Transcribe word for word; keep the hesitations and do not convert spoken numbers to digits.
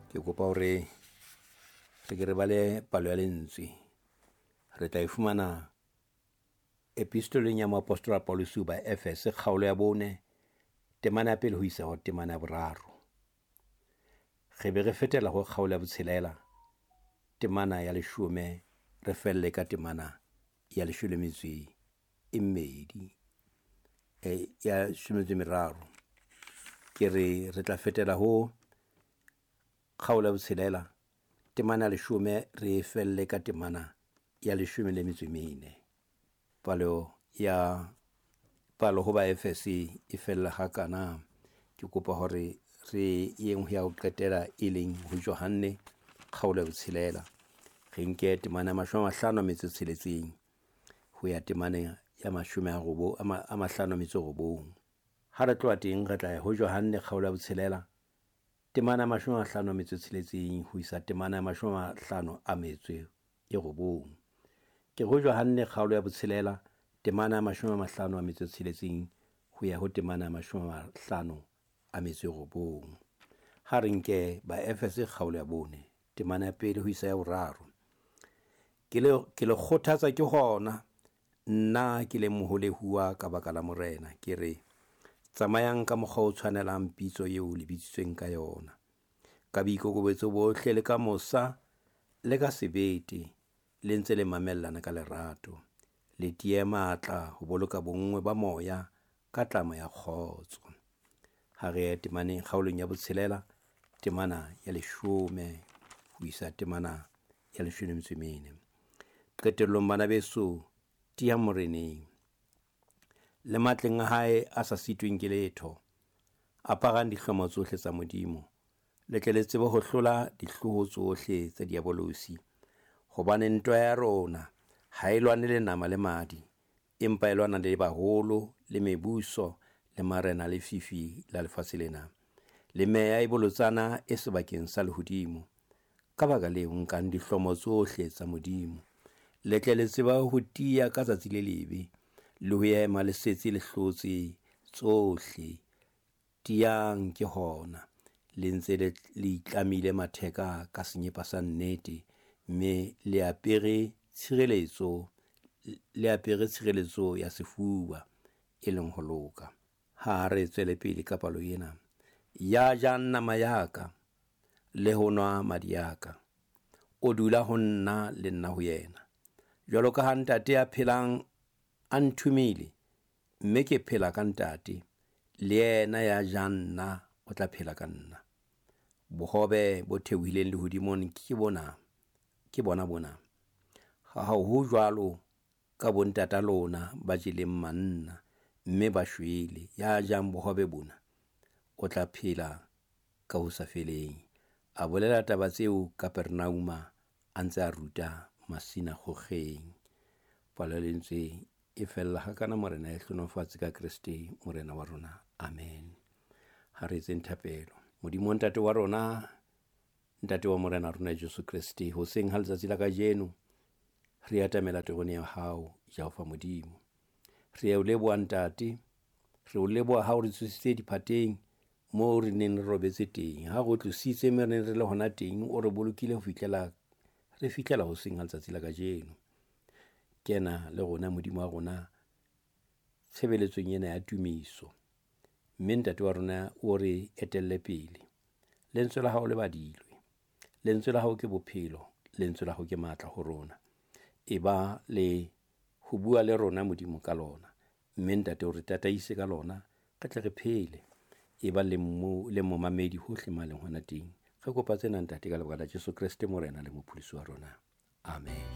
Ke kopa hore re ke re bale palo ya lentswe. Re tla e fumana epistoleng ya moapostola Paulus ho ba Efese kgaolo ya bone, temana ya pele ho isa ho temana ya boraro. Re be re fetela ho kgaolo ya botshelela, temana ya leshome, re felle ka temana ya leshome le metso e mmedi, e ya leshome le metso e meraro. Ke re re tla fetela ho kgaolo ya botshelela, temana ya leshome, re felle ka temana ya leshome le metso e mene. Palo ya palo ho ba Efese e fella hakana. Ke kopa hore re yeng ho ya ho qetela e leng ho Johanne kgaolo ya botshelela. Re nke temana ya mashome a mahlano a metso e tsheletseng ho ya temana ya mashome a robo a mahlano a metso e robong. Ha re tloha teng re tla ya ho Johanne kgaolo ya botshelela, temana ya mashome a mahlano a metso e tsheletseng ho isa temana ya mashome a mahlano a metso e robong. Ke ho Johanne kgaolo ya botshelela, temana ya mashome a mahlano a metso e tsheletseng ho ya ho temana ya mashome a mahlano a metso e robong. Ha re nke ba Efese kgaolo ya bone, temana ya pele ho isa ya boraro. Ke le ke le kgothatsa ke hona nna ke le moholehuwa ka baka la Morena, ke re tsamayang ka mokgwa o tshwanelang pitso eo le bitsitsweng ka yona, ka boikokobetso bohle le ka mosa le ka sebete, le ntse le mamellana ka lerato, le tiye matla ho boloka bonngwe ba moya ka tlamo ya kgotso. Ha re ye temaneng kgaolong ya botshelela, temana ya leshome ho isa temana ya leshome le metso e mene. Qetellong bana beso, tiyang Moreneng le matleng a hae a sa sitweng ke letho. Aparang dihlomo tsohle tsa Modimo, le tle le tsebe ho hlola dihloho tsohle tsa diabolosi. Hobane ntwa ya rona ha e lwane le nama le madi, empa e lwana le baholo le mebuso le marena le fifi la lefatshe lena, le meya e bolotsana e sebakeng sa lehodimo. Ka baka leo, nkang dihlomo tsohle tsa Modimo, le tle le tsebe ho tiya ka tsatsi le lebe, le ho ema le setse le hlotse tsohle. Tiyang ke hona, le ntse le le itlamile matheka ka senyepa sa nnete, mme le apere tshireletso, le apere tshireletso ya sefuba, e leng ho loka. Ha re tswele pele ka palo ena. Ya jang nama ya ka le ho nwa madi a ka, o dula ho nna le nna ho yena. Jwalo ka ha Ntate ya phelang a nthomile, mme ke phela ka Ntate, le yena ya jang nna o tla phela ka nna. Bohobe bo theohileng lehodimong ke bona, ke bona bona. Ha ho jwalo ka bontata lona ba jeleng manna, mme ba shwele. Ya jang bohobe bona o tla phela ka ho sa feleng. A bolela taba tseo Kapernauma, a ntse a ruta masinagogeng. Palo ya lentswe e fella hakana. Morena e hlohonolofatse ka Kreste Morena wa rona. Amen. Ha re etseng thapelo. Modimo Ntate wa rona, Ntate wa Morena rona Jesu Kreste, hoseng ha letsatsi la kajeno re atamela terone ya hao, Jehova Modimo. Re o leboha Ntate, re o leboha ha o re tsositse diphateng moo re neng re robetse teng. Ha re o tlositse mme re neng re le hona teng, o re bolokile ho fihlela re fihlela hoseng ha letsatsi la kajeno. Kena le rona Modimo wa rona tshebeletsong ena ya tumiso, mme Ntate wa rona o re etelle pele. Lentswe la hao le badilwe, lentswe la hao ke bophelo, lentswe la hao ke matla ho rona. E ba le ho bua le rona Modimo ka lona, mme Ntate o re tataise ka lona, re tle re phele. E ba le mo le momamedi hohle ma leng hona teng. Re kopa tsena Ntate ka lebaka la Jesu Kreste Morena le Mopholosi wa rona. Amen.